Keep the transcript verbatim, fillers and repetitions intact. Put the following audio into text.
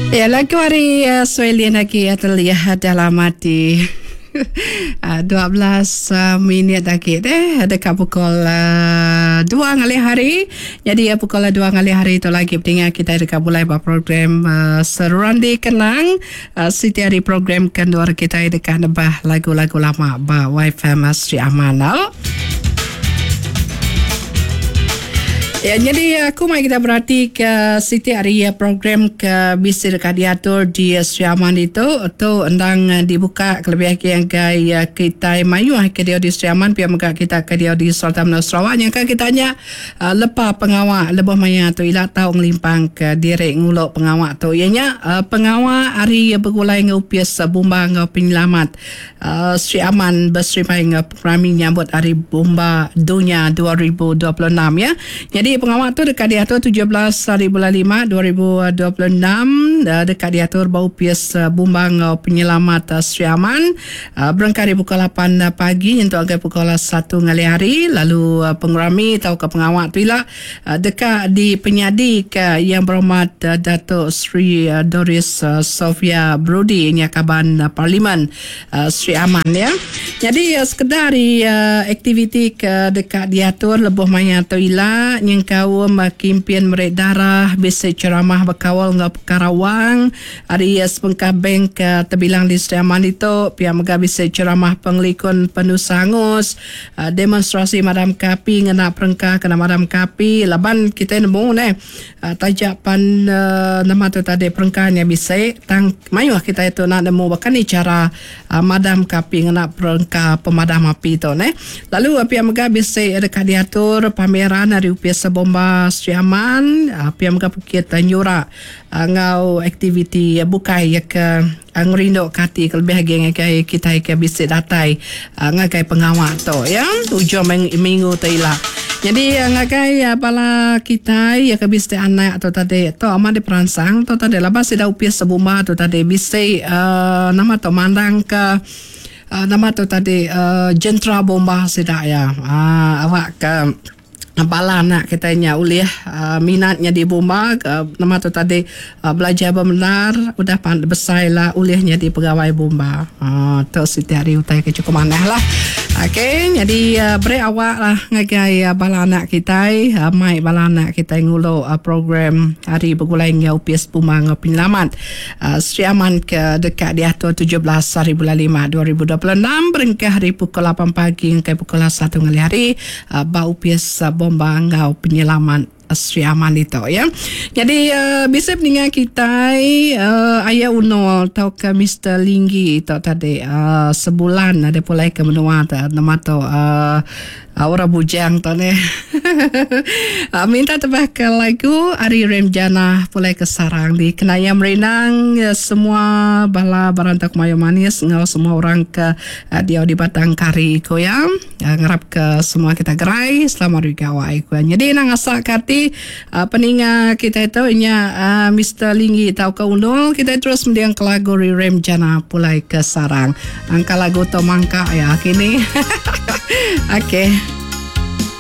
Ya, lagu hari uh, Swelin lagi terlihat dalam hati. dua belas uh, minit lagi deh dekat pukul uh, dua ngalih hari. Jadi uh, pukul dua ngalih hari itu lagi pentingnya kita dekat mulai buat program uh, Seruran Dikenang. Uh, siti hari program kendua kita dekat nebah lagu-lagu lama ba Wifi Sri Aman. Ya, jadi aku mai kita berarti ke siti hari program ke bisi dekat diatur di Sri Aman itu tu endang dibuka kelebih lagi yang ke kita mayu ke dia di Sri Aman pia mega kita ke dia di Sultan Menua Sarawak yang kan kita nya lepa pengawak lebuh maya tu ila tau ngelimpang ke direk ngulok pengawak tu ianya pengawak hari bergulai ngupis bomba ngau penyelamat Sri Aman berserimai ngau pengerami nyambut hari bomba dunia dua ribu dua puluh enam ya. Jadi pengawal tu dekat diatur tujuh belas hari bulan lima dua ribu dua puluh enam dekat diatur bau pias bumbang penyelamat Sri Aman berangkat dari pukul lapan pagi untuk agak pukul satu ngalih hari lalu pengerami atau ke pengawal tu lah dekat di penyadi ke yang berhormat Datuk Sri Doris Sofia Brody nya kaban Parlimen Sri Aman ya. Jadi sekedar aktiviti ke dekat diatur lebuh maya tu ila nyengkaum kimpin merik darah bisa ceramah berkawal ngau Karawang hari sepengkah bank terbilang di Sri Aman itu pihak mega bisa ceramah pengelikun penuh hangus demonstrasi madam kapi ngena perengkah kena madam kapi laban kita nemu ne tajak pan nama tu tadi perengkahnya bisa tang mayuh kita itu nak nemu bahkan ni cara madam kapi ngena perengkah pemadam api tu ne lalu pihak mega bisa dekat diatur pameran hari upias bomba Sri Aman P M K Bukit Nyura ngau aktiviti bukai ya ke ngerindu kati kelebih lagi ngagai kita ke bisi datai ngagai pengawal tu ya tujuh minggu tu ila. Jadi ngagai bala kita ya ke bisi anak tu tadi tu amat diperansang tu tadi lepas sida upias bomba tu tadi bisi uh, nama tu mandang ke uh, nama tu tadi uh, jentera bomba sida ya uh, awak ke bala anak kita nya ulih uh, minatnya di bomba uh, nama tu tadi uh, belajar benar udah besar lah ulihnya di pegawai bomba. Uh, tu setiap hari utai ke cukup manah lah. Okey, jadi uh, beri awak lah ngagai uh, bala anak kita, uh, mai bala anak kita ngulu uh, program hari bergulai ngau P S Bomba ngau penyelamat uh, Sri Aman ke dekat diatur tujuh belas hari bulan lima dua ribu dua puluh enam berengkah hari pukul lapan pagi hingga pukul satu ngalih hari uh, bau P S Bomba ngau penyelamat Sri Aman itu ya. Jadi uh, bisa pendengar kita uh, Ayah Uno atau ke Mister Linggi itu tadi uh, sebulan ada pulai ke menua nama tu uh, orang bujang tu ni. uh, minta tebah ke lagu Ari Remjana pulai ke sarang di Kenaya Merenang uh, semua bala barantak mayo manis ngau semua orang ke uh, dia di Batang Kari ko ya. Uh, ngarap ke semua kita gerai selamat gawai ko. Jadi nang asak kati Uh, peninga kita itu nya uh, Mister Linggi tau ke Unul kita terus mendiang ke lagu Remjana pulai ke sarang. Angka lagu to mangka ya kini. Okey.